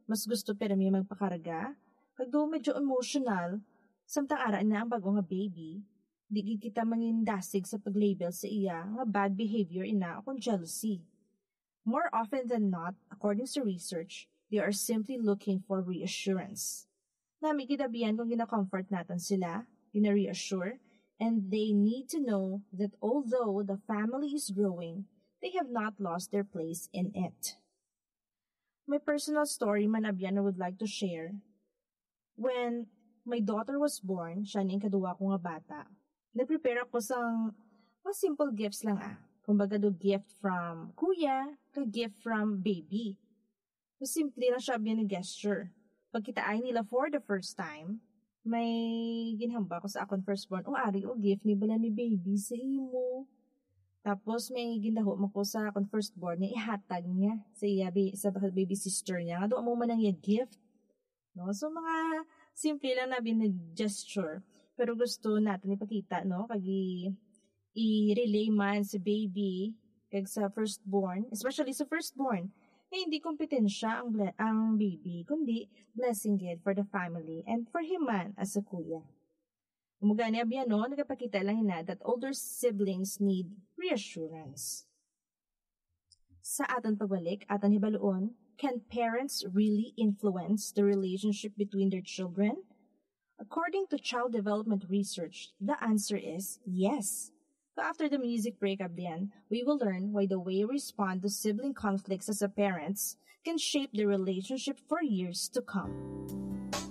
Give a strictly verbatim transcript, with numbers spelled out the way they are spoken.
Mas gusto pirmi magpakarga, kag daw medyo emotional, samtang ara na ang bago nga baby. Di gid kita mangindasig sa pag-label sa iya nga bad behavior ina o kung jealousy. More often than not, according to research, they are simply looking for reassurance. Nami gid abyan kung gina-comfort naton sila, gina-reassure, and they need to know that although the family is growing, they have not lost their place in it. My personal story man abyan I would like to share. When my daughter was born, siya ni ang kaduwa ko nga bata, nag-prepare ako sang mga simple gifts lang, ah. Kumbaga, do gift from kuya, ka gift from baby. So, simple lang siya, biya ni gesture. Pagkita ay nila for the first time, may ginhamba ko sa akon firstborn, "O, ari, o, gift ni bala ni baby sa imo." Tapos may gindaho mo ko sa akon firstborn niya, ihatag niya sa iya, bi- sa baby sister niya. Nga doon mo man ang iya gift. No? So, mga simple lang na bin-, gesture. Pero gusto natin ipakita, no? Kag i-, i-relay man sa baby, kag sa firstborn, especially sa firstborn, na hindi kompetensya ang, ble- ang baby, kundi blessing gid for the family and for him man as a kuya. Umugani abyan, no, nagapakita lang ina that older siblings need reassurance. Sa aton pagbalik, aton hibaluon, can parents really influence the relationship between their children? According to child development research, the answer is yes. So after the music break, abyan, we will learn why the way we respond to sibling conflicts as a parents can shape the relationship for years to come.